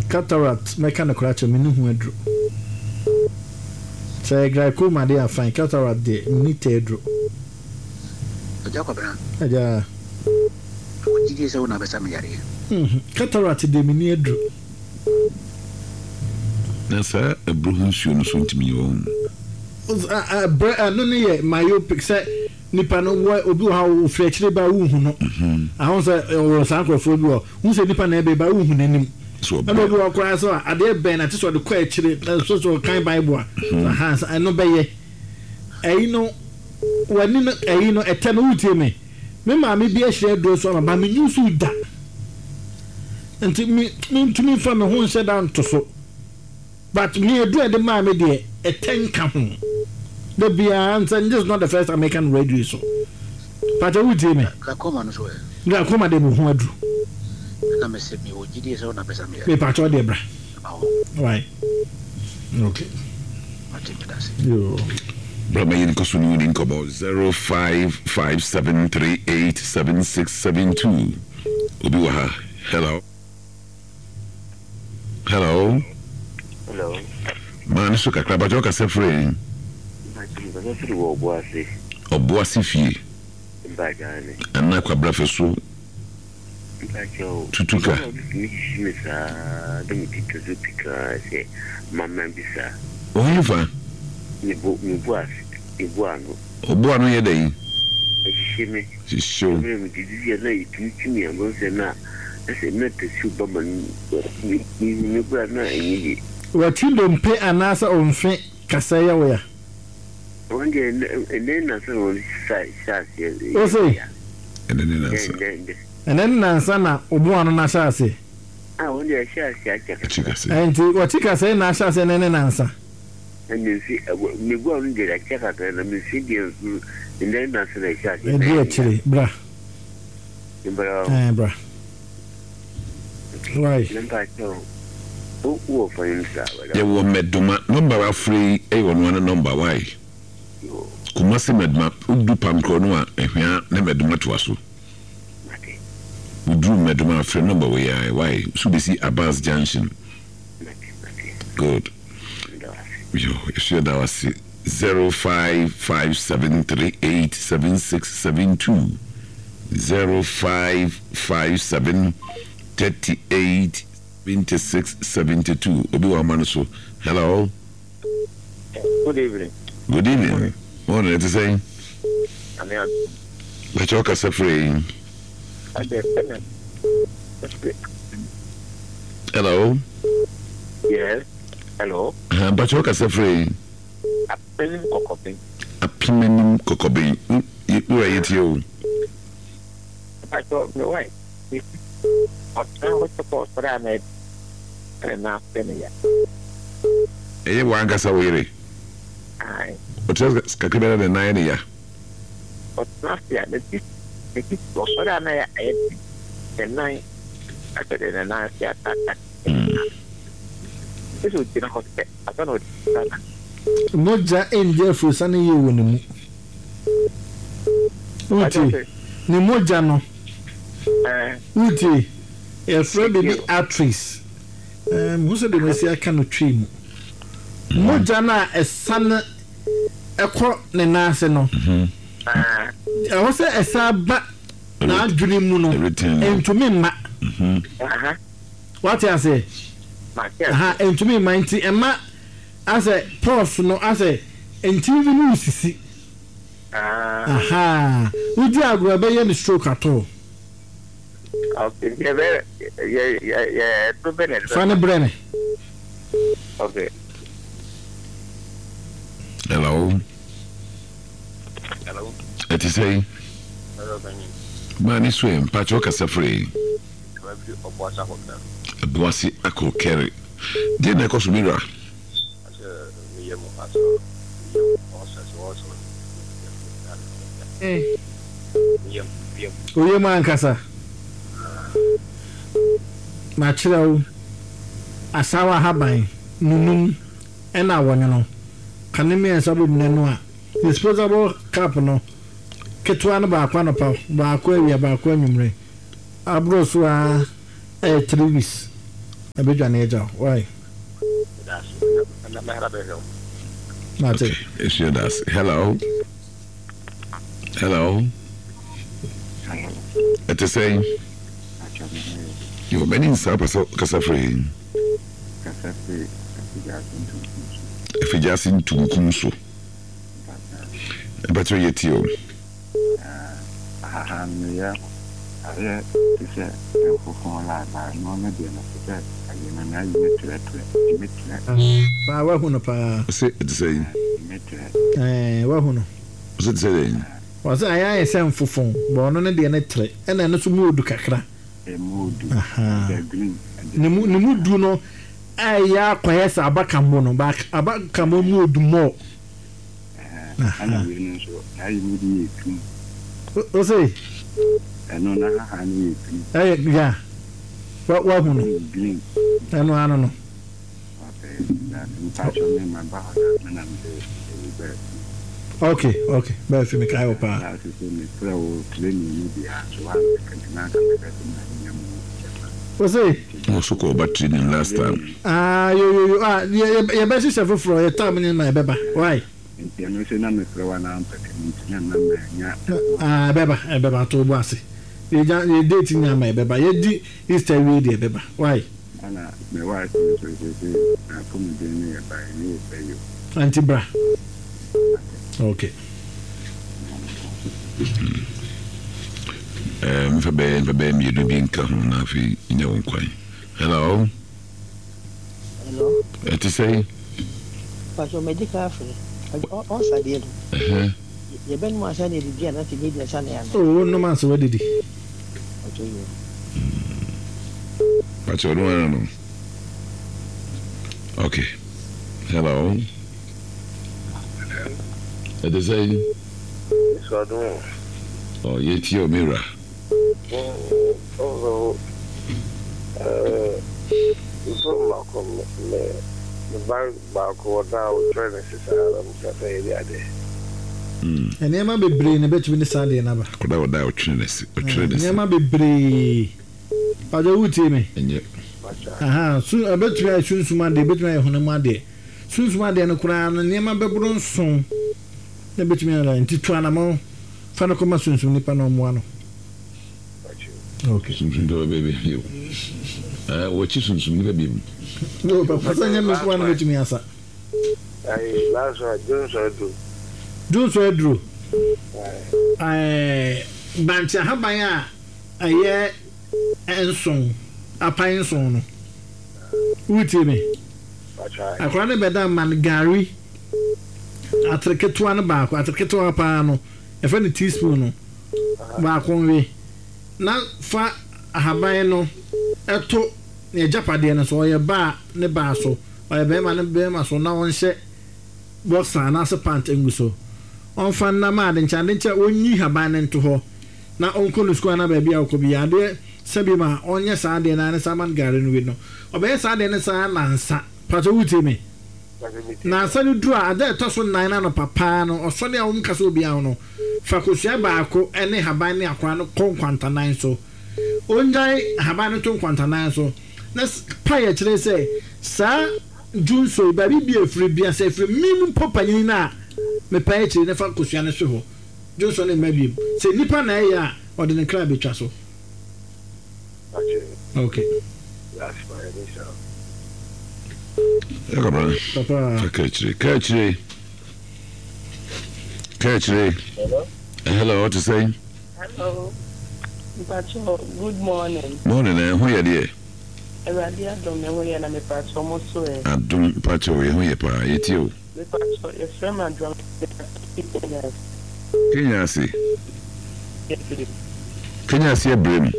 Cataract, mɛka nokorɛ akyerɛ wo, menni ho aduro. Sɛ ɛyɛ glaucoma deɛ a fine, cataract deɛ menni tɛ aduro. Agya Kwabena. Agya. Mewɔ gyidie sɛ wo na wobɛsa me yareɛ. Cataract deɛ menni aduro. Na saa aburo ho nsuo no so ntumi nyɛ wɔn. Brɛ ɛno no yɛ myopic sɛ nipa no wɔ obi wɔ ha ofiri akyire ba wohu no. Ahun sɛ wɔ saa nkurɔfoɔ bi wɔ hu sɛ nipa na ɛbɛ ba wohu n'anim. Ɛna obi wɔ koraa sɛ adeɛ bɛn na te sɛ ɔde kɔ akyire na so sɛ ɔkan Bible a. Ɛno bɛyɛ ɛyi no w'ani no ɛyi no ɛtɛ no wotie me. Me maame bi ahyira aduro so ama ba me nyusu da. Nti me mentumi nfa me ho nhyɛ da nto so. But me aduro a ɛde maa me deɛ ɛtɛ nka ho. Da biara nsɛ this is not the first time meka no radio yi so. Pakyɛ wotie me? Glaucoma no so ɛ? Glaucoma deɛ mehu aduro. Ɛna mese mewɔ gyidie sɛ wo na bɛsa me yare. Me pakyɛ deɛ bra. Why? Okay. Mate medase. Yoo. Bra ma yɛnkɔ so ne wo ni nkɔmmɔ 0557387672 Obi wɔ ha. Hello. Hello. Hello. Maa ne so kakra bàtɛ ɔkasa firi yɛn. Ɔkasa firi wɔ Ɔboase. Ɔboase fie. Mpakyɛ ne. Ɛna kwabrafɛ so. Mpakyɛ o. Tutuka. Mama bi tumi hyehye me saa de me ti to so pikaa sɛ mama bi saa. Ɔhe fa? Me bo me bo ase me bo ano. Ɔbo ano yɛ dɛn? Ɛhyehye me. Hyehye wo. Ɛberɛ medidi a na ɛtumi kyi me a mahu sɛ na ɛsɛ na tasuo ba ma no mehu me koraa na ɛnyɛ yie. W'akyi dompe anaasɛ omfe kasɛe yɛ wo ya? Wɔn deɛ ɛnɛ ne nnansa na wɔn hyɛ aseɛ yɛ Ose? me ya. Ɛnɛ ne nnansa. Ɛnɛ ɛnɛ. Ɛnɛ ne nnansa na obo ano no ahyɛ aseɛ? Ah wɔn deɛ ɛhyɛ aseɛ akyɛ Akyi kakra. kasɛe. Ɛnti w'akyi kasɛe na ahyɛ aseɛ ɛnɛ ne nnansa? Na me mfe, me bo ano deɛ akyɛ kakra, na me mfe deɛ nso nnɛ nnansa na ɛhyɛ aseɛ na Ɛdi ɛyɛ me ya. akyire, bra. Mbra o. Ɛɛ bra. Why? Na mpakyɛw, wo wɔ fa nim saa wɛrɛ. Yɛwɔ Mɛdoma, number wafrɛ yi yɛ ɔno ara ne number why? Yoo. Kumasi Mɛdoma, wodu Pamkorɔ no a Ahwia ne Mɛdoma toa so. Mate. Woduru Mɛdoma a frɛ number wei ara why? So besi Abas Junction. Good. Yo, yɛso yɛda wo ase. 0557387672 0557 38 76 72 Obi wɔ ama no so. Hello. Good evening. Good evening. Morning, ɛte sɛn? Bɛkyɛ ɔkasa firi yi. Hello. Yes. Hello. Mpakyɛ ɔkasa firi yi. Apemenim kɔkɔben. Apemenim kɔkɔben. Wura yɛ tie o. Mpakyɛ me wife. Ɔtena hɔ sɛ kɔ ɔsɔre a na ɛna na afɛ ne ya. Ɛyɛ w'ankasa wo yere? Ae. Ɔtena kakra bi na ne nan yɛ ne ya. Ɔtena ase a, ne ti ne ti ɔsɔre a na ayɛ den. Ne nan asɛ deɛ ne nan ase ataataa. Ɛsɛ sɛ ɔgyina hɔ sɛ ansa na ɔde nsa na. Mogya nndi afurusa no yie wɔ ne mu. Wotie? Ne mogya no. Wotie? Yɛfrɛ biribi arteries. Mehu sɛ deɛ masi aka no Twi mu. Mogya no a ɛsane kɔ ne nan ase no, ɛwɔ sɛ ɛsan ba n'adwene mu no, ɛntumi mma. Wate aseɛ? Ɛntumi mma nti ɛma asɛ pulse no asɛ ntini bi mu sisi. Wodi agorɔ ɛbɛyɛ no stroke at all. Okay, nti ɛbɛ yɛ yɛ yɛ ɛduro bɛ na ɛde bɛ. Fa ne brɛ me. Okay. Hello. Hello. Ɛte sɛ yi. Hello, Benny. Maa ne so ɛ mpakyɛ ɔkasa firi yi. Ɛbɛ Ɔboase akɔ kɛre. Ɔboase akɔ kɛre. Deɛ na ɛkɔ so mi wura. Asɛ meyɛ mu asɛ meyɛ mu ɔsɛ sɛ ɔsɛ. Oye mu ankasa. Makyerɛ wo asaawa ahaban, nunum, ɛna awɔnwono. Ka ne mmiɛnsa bom na noa. Disposable cup no, ketewa no baako anɔpa, baako awia, baako anwummere. Aboro so ara ɛyɛ 3 weeks. Ɛbɛdwane agya wo. Wai? Meda ase. Na mɛhara bɛhwɛ wo. Mate. Okay, ɛsua da ase. Hello. Hello. Hello. Ɛte sɛn? Atwa me ho yɛ. Yo, m'ani nsa pɛ sɛ kasa firi he? Kasa firi Afigya-Ase Ntunkum so. Afigya-Ase Ntunkum so. Mpakyɛw yɛ tie o. Ahahan no yɛ ayɛ te sɛ mfofon la ba ɛno no deɛ no te sɛ ayi no na ayi no trɛtrɛ ɛtumi trɛ. Paa wahu no paa. Ɔse ɛte sɛ yi. Ɛtumi trɛ. Ɛɛ wahu no. Ɔse ɛte sɛ dɛn. Ɔse ayɛ ayɛ sɛ mfofon but ɔno ne deɛ no trɛ ɛna ɛno nso mu odu kakra. Ɛmu odu. Ɛda green. Ne mu ne mu du no ɛyɛ akɔyɛ sɛ abakammo no but abakammo mu odu more. Ɛna wei no nso n'ayi no de yɛ tum. O se. Ɛno n'ahahan no yɛ green. Ɛyɛ ya wa wahu no. Green. Ɛno ano no. Okay, mpatsɔ me ma ba hɔ na me na me de eyi bɛɛ fi. Okay, okay, bɛɛ fi me kae wo paa. Last sɛ me frɛ wo training no bi a nso wa mpɛkɛ me na nka me bɛ sɛ ma nya mu kyɛfa. O se. Wɔ so kɔ ɔba training last time. Ah yo yo yo ah yɛ yɛ bɛ hyehyɛ foforɔ yɛ time ne ma ɛbɛba why. Nti ɛno nso na mefrɛ wo anaa wompɛ kɛ no nti na ɛma mannya ɛho. Ah ɛbɛba ɛbɛba to wo bo ase yɛ gya yɛ date nya ma ɛbɛba yɛ di Easter wie deɛ ɛbɛba why. Ɛna me wife nso seesei n'apɔmuden no yɛ ban ne yɛ bɛ yo. Ah nti bra ok. Eh, mfa bɛyɛ mfa bɛyɛ mmienu bi nka ho na afei nya wo nkwan. Hello. Hello. Ɛte sɛn? Pastor madi kan afrɛ. Ɔsa deɛ no. Yɛbɛnom ansa na yɛdidi anaasɛ yɛbɛdi ansa na yɛanom? Oh, wonom ansa woadidi. Ɔtɔ yi. Pastor ɔno ara no. Okay. Hello. Ɛte sɛn? Yesu adom o. Oh, yɛtie o, me wura. Ɔsɔfo, mfrɛ mmaako me me ba baako wɔ da a wɔtwerɛ ne se saa na meka sɛ yɛde adeɛ. Nneɛma bebree na ɛbɛtumi de saa adeɛ no aba. Akwadaa wɔ da a ɔtwere ne se, ɔtwerɛ ne se. Nneɛma bebree. Mpakyɛ wotie me? Ɛnyɛ. Aha, su, ɛbɛtumi ayɛ sunsum adeɛ, ɛbɛtumi ayɛ honam adeɛ. Sunsum adeɛ no koraa no, nneɛma bɛboro nson na ɛbɛtumi ayɛ. Nti tu anamɔn. Fa no kɔma sunsum nipa na ɔmmoa no. Okay. Sunsum nipa bɛbɛ bi o. Eh, wɔkyi sunsum nipa bi mu. No, papa sɛ nyɛ me nko na mɛtumi asa. Ayi, last one, Johnson aduro. Johnson aduro. Ɛɛ, bankye ahaban a ɛyɛ nson, apan nson no. Wotie me? Akwadaa no bɛda ma no gari. Atere ketewa no baako, atere ketewa paa no, yɛfrɛ no teaspoon no, baako nwe, na fa ahaban no to n'agyapadeɛ no so, ɔyɛ baa ne baa so, ɔyɛ barima ne barima so, na ɔnhyɛ boxer anaasɛ pant ngu so. Ɔmfa nna ma adenkyɛ, adenkyɛ ɔnyi haban no nto hɔ na ɔnkɔ no sukuu anaa baabi a ɔkɔ biara. Adeɛ sa bi ma ɔnyɛ saa adeɛ no ara ne saa ma no gari no we no. Ɔbɛyɛ saa adeɛ no saa nnansa. Pakyɛ wotie me? Nnansa no duru a, ada a ɛtɔ so nnan no anɔpa paa no, ɔsɔre a wɔnkasa obiara ho no, fa kosua baako ne haban ne akora no kɔ nkwantanan so. Ongyae haban no to nkwantanan so, na pae kyerɛ sɛ saa dwonsɔ yi, baabi bi a ɛfiri bia, sɛ ɛfiri me mu mpo panyin no a, mepae akyiri na fa kosua no hwe hɔ. Dwonsɔ no mma bio. Sɛ nnipa na ɛyɛ a, ɔde ne kra betwa so. Okay. Papa. Papa. Ka akyire. Ka akyire. Hello. Hello, te sɛn? Hello. Mpacho, good morning. Morning, eh, ho yɛ deɛ? Awurade adom me ho yɛ na mepacho mo so ɛ. Adom, mpacho, yɛ ho yɛ paa, yɛtie o. Mepacho, yɛfrɛ me Adwoa mefi Kenya ase. Kenya ase? Kenya ase abrem.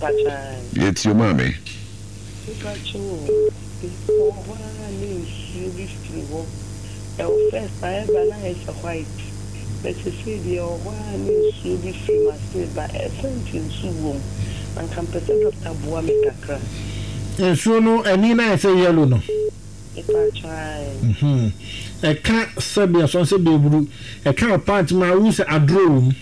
Mpacho ae. Yɛtie o maame. Mepacho o, mewɔ hɔ ara ne nsuo bi firi hɔ, ɛwɔ first na ɛba na ayɛ sɛ white, but sesei deɛ ɛwɔ hɔ ara ne nsuo bi firi m'ase ba, ɛsɛnti nso wɔ mu, anka mpɛ sɛ doctor boa me kakra. Nsuo no ani no ayɛ sɛ yellow no. Mepacho ae. Ɛka sɛbi asɔn sɛbi aburu, ɛka wo pant ma wohu sɛ aduro wɔ mu.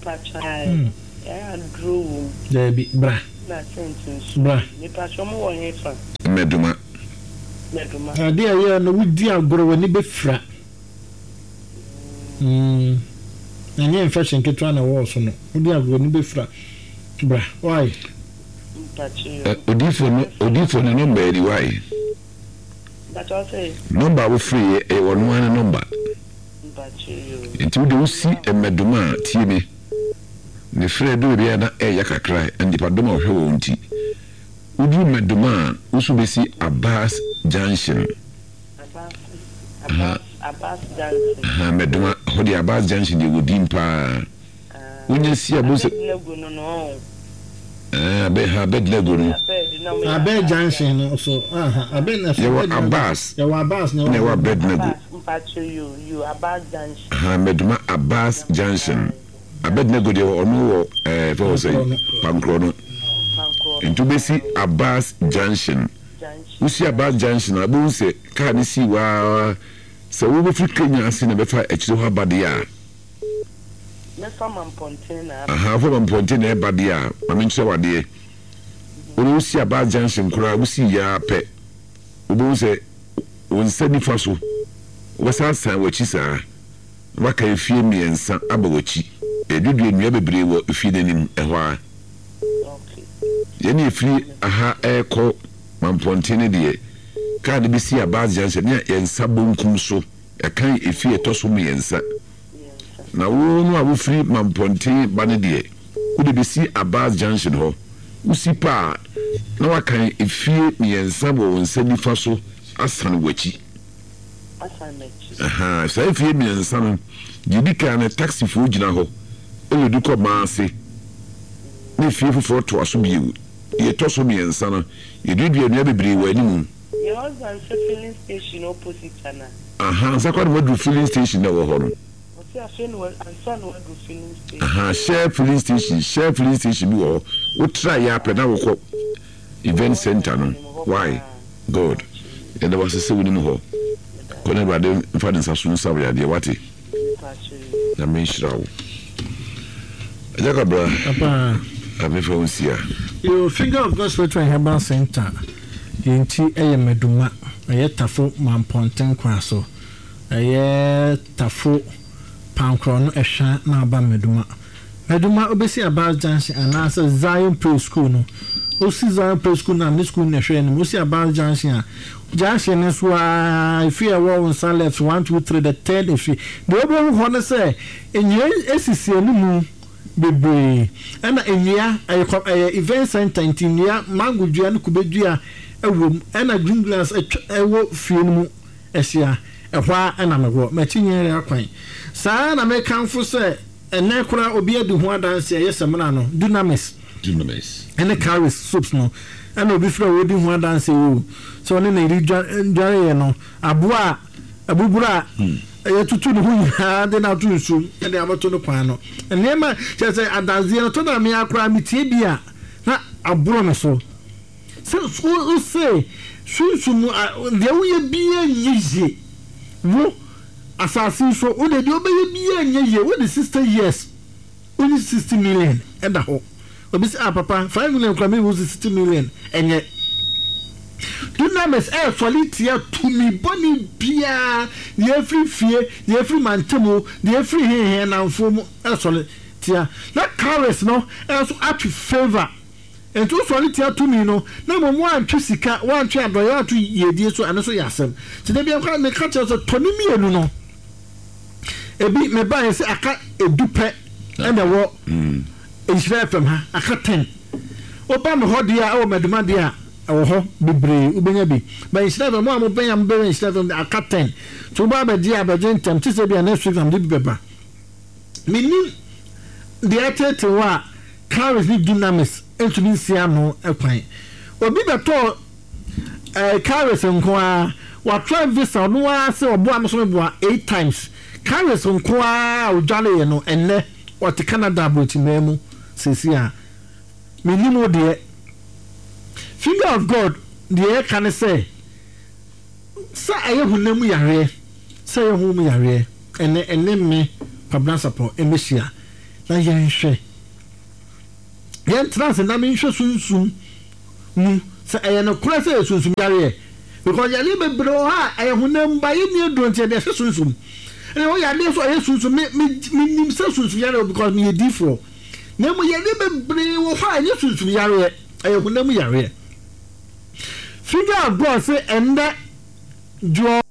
Mpacho ae, ɛyɛ aduro wɔ mu. Daabi, bra. Na scent nso. Bra. Mepakyɛw mo wɔ he fa? Mmɛdoma. Mmɛdoma. Adeɛ a ɛyɛ no wodi agorɔ w'ani bɛfira. Mm. Ɛnyɛ infection ketewa na ɛwɔ so no. Wodi agorɔ w'ani bɛfira. Bra. Why? Mpakyɛw. Odiifoɔ no odiifoɔ no nɔmba yɛ ni why? Mpakyɛw sɛ. Nɔmba a wofiri yɛ ɛyɛ ɔno ara ne nɔmba. Mpakyɛw. Nti wode wosi mmɛdoma a tie me. Ne frɛ du baabi a na ɛyɛ kakra a nnipadɔm a wɔhwɛ wɔn nti. Woduru Medoma a, wo so besi Abbas Junction. Abbas, Abbas Junction. Aha, Medoma, hɔ deɛ Abbas Junction deɛ wɔ din paa. Wonya si a, bohu sɛ. Abednego no no ɔn. Ɛɛ, Abed, ha, Abednego no. Abed, na wɔyɛ Abed Junction no so, aha, Abed na so. Yɛwɔ Abbas. Yɛwɔ Abbas na yɛwɔ Abednego. Abbas, mpakyɛ yo, yo, Abbas Junction. Aha, Medoma Abbas Junction. Abednego deɛ ɔno wɔ ɛɛ fɛ wɔ sɛ Pankorɔ no. Nti wobɛsi Abbas Junction. Wosi Abbas Junction a, wobɛhu sɛ kaa no sii hɔ ara. Sɛ wobɛfiri Kenya ase na bɛfa akyire hɔ aba deɛ a. Mɛfa Mampɔnten na aba. Aha, wofa Mampɔnten na ɛba deɛ a, ma menkyerɛ wo adeɛ. Wode wosi Abbas Junction koraa, wosii yɛ ara pɛ, wobɛhu sɛ wo nsa nifa so, wobɛsan asan w'akyi saa. Waka mfie mmiɛnsa aba w'akyi. Yɛaduadua nnua bebree wɔ efie no anim ɛhɔ ara. Yɛn a yɛfiri ha rekɔ Mampɔnten no deɛ, kaa no bɛsi Abaz Junction ne yɛn nsa bonkum so, ɛkan efie a ɛtɔ so mmiɛnsa. Na wo no a wofiri Mampɔnten ba no deɛ, wode bɛsi Abaz Junction hɔ. Wosi pɛ a, na woakan efie mmiɛnsa wɔ wo nsa nifa so asane w'akyi. asan m'akyi. Ahaa, saa mfie mmiɛnsa no, deɛ ɛdi kan no, taxifoɔ gyina hɔ lodu kɔ Maase, na efie foforɔ toa so bio. Deɛ ɛtɔ so mmiɛnsa no, yɛduadua nnua bebree wɔ animu. Your husband sɛ filling station opposite ana? Ahaa, ansa koraa na waduru filling station na ɛwɔ hɔ no. Ɔse afei na ansa na waduru filling station. Ahaa, Shell filling station, Shell filling station bi wɔ hɔ, wotra yɛ ara pɛ na wokɔ. Event center no why God yɛda wo ase sɛ wonim hɔ kɔ na awurade mfa ne nsa so nsa wo yadeɛ wate Nyame nhyira wo Agya Kwabra Amefa wo nsia. Yo Finger of God Spiritual and Herbal Center yɛn ti yɛ Maduma ɛyɛ Tafo Mampɔnten kwan so ɛyɛ Tafo Pankorɔ no ɛhwa na aba Maduma Adwuma obesi Abas Junction anaasɛ Zion Pre School no. Osi Zion Pre School no a, ne school no na ɛhwɛ anim. Osi Abas Junction a, junction no so ara, efie a ɛwɔ wo nsa left, one, two, three, the third efie. Deɛ wobɛhu hɔ ne sɛ, nnua esisi anim bebree. Ɛna nnua, ɛyɛ kɔ, ɛyɛ event center nti nnua, mango dua ne kube dua ɛwɔ mu. Ɛna green grass atwa, ɛwɔ fie no mu ahyia. Ɛhɔ ara na mewɔ. M'akyi nyɛ akwan. Saa ara na mekamfo sɛ. Ɛnnɛ koraa obi adi ho adanse a ɛyɛ samina no, dunamis, ne cowries soaps no, ɛna obi frɛ a ɔredi ho adanse oo, sɛ ɔne ne yere dwareeɛ no, aboa a abuburo a yɛatutu ne ho nyinaa de no ato nsuom de abɛto no kwan no. Nneɛma kyerɛ sɛ adanseɛ no, tɔ da a me ara koraa metie bi a na aboro me so. Sɛ wose sunsum deɛ woyɛ biara nyɛ yie, wo. Asase yi so wo deɛ deɛ wobɛyɛ biaa nyɛ yie wode 60 years wonyi 60 million ɛda hɔ obi sɛ ah papa 5 million koraa me wo 60 million ɛnyɛ Dunamis ɛɛsɔre tia tumi bɔne biaa deɛ ɛfiri fie deɛ ɛfiri mantamu deɛ ɛfiri hehe nnamfoɔ mu ɛsɔre tia na Charis no nso atwe favour Enti wosɔre tia tumi no, na mmom woantwe sika, woantwe adɔeɛ, woanto yiedie so, ɛno nso yɛ asɛm. Nti da biara koraa meka kyerɛ wo sɛ tɔ ne mmienu no. Ebi mebaeɛ sɛ aka edu pɛ ɛna ɛwɔ Nhyira FM ha, aka ten. Woba me hɔ deɛ a, ɛwɔ Maduma deɛ a, ɛwɔ hɔ bebree, wobɛnya bi. But Nhyira FM, mo a mobɛn a mobɛwɛ Nhyira FM deɛ, aka ten. Nti woba abɛgye a, bɛgye ntɛm, te sɛ bi a next week na mede bi bɛba. Mennim deɛ ɛteetee wo a Charis ne Dunamis ntumi nsi ano kwan. Obi bɛtɔɔ eh, Charis nko ara, watry visa ɔno ara sɛ ɔboa me so meboa eight times. Charis nko ara a ɔdwareeɛ no ɛnnɛ ɔte Canada aburokyimaa mu seesei a. Mennim wo deɛ. Finger of God deɛ ɛka ne sɛ, sɛ ɛyɛ honam mu yareɛ, sɛ ɛyɛ honhom mu yareɛ, ɛnnɛ ɛne me Kwabena Sarpong mmɛhyia na yɛnhwɛ. Yɛntena ase na menhwɛ sunsum mu sɛ ɛyɛ nokorɛ sɛ ɛyɛ sunsum yareɛ because yareɛ bebree wɔ hɔ a ɛyɛ honam mu but yɛnni aduro nti yɛde ɛhyɛ sunsum. Ɛna ɛwɔ yareɛ nso a ɛyɛ sunsum me me menim sɛ sunsum yareɛ wɔ because meyɛ diifoɔ na mmom yareɛ bebree wɔ hɔ a ɛnyɛ sunsum yareɛ ɛyɛ honam mu yareɛ. Figure of God se ɛndɛ dwoɔ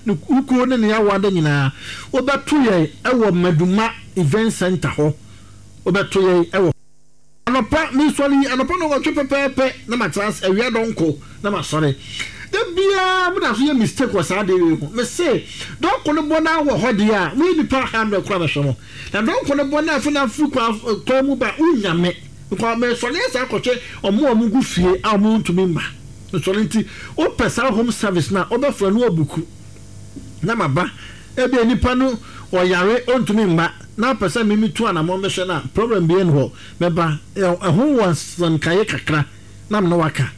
ne kuo ne ne awada nyinaa wobɛto yɛn wɔ Maduma Event Center hɔ wobɛto yɛn wɔ. Anɔpa, mesɔre yi, anɔpa nnɔnwɔtwe pɛpɛɛpɛ na matena ase, awia dɔnko na masɔre. Da biara mo da so yɛ mistake wɔ saa adeɛ wei ho. Mese, dɔnko no bɔ na wɔ hɔ deɛ a, moyɛ nnipa hundred koraa bɛhwɛ mo. Na dɔnko no bɔ na afei na afiri kwan, kwan mu ba, wonnya me. Because mesɔre asan akɔhwɛ wɔn a wɔgu fie a wɔntumi mma. Mesɔre nti, wopɛ saa home service no a, wobɛfrɛ no wabuku na maba. Ebia nipa no ɔyare ɔntumi mma na wopɛ sɛ me metu anamɔn bɛhwɛ no a, problem biara nni hɔ, mɛba. Ɛho wɔ nsɛnkaeɛ kakra na me ne wo aka.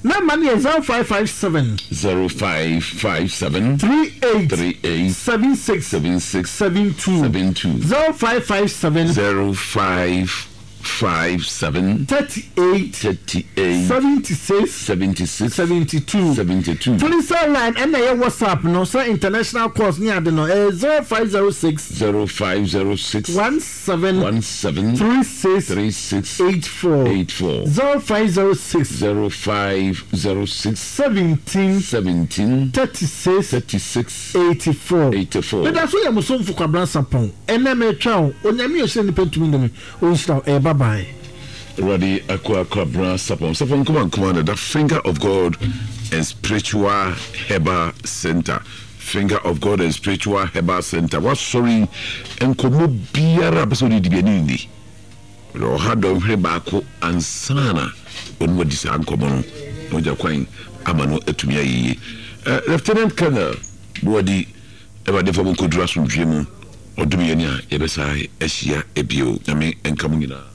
Number no yɛ 0557. 0557. 38. 38. 76. 76. 72. 72. 0557. 05. 5 7. 38. 38. 76. 76. 72. 72. Telecel line ɛna ɛyɛ WhatsApp no sɛ international calls ne ade no ɛyɛ 0506. 0506. 17. 17. 36. 36. 84. 84. 0506. 0506. 17. 17. 36. 36. 84. 84. Meda so yɛ mo somfo Kwabena Sarpong. Ɛnnɛ meretwɛn wo. Onyame a ɔhyira nnipa ntumi nnome. Ɔnhyira wo. Ɛyɛ bye bye. Awurade akoa Kwabena Sarpong Sarpong Nkoma Nkoma na the finger of God and spiritual herbal center finger of God and spiritual herbal center wasɔre yi nkɔmmɔ biara a pɛ sɛ ɔde di bi ɛne nni ɔha dɔnhwere baako ansana ɔne wadi saa nkɔmmɔ no na ɔgya kwan ama no atumi ayɛ yie. Lieutenant Colonel Boadi Awurade mfa mo nkɔduru asomdwoeɛ mu, ɔdom yɛn a yɛbɛsan ahyia bio. Nyame nka mo nyinaa.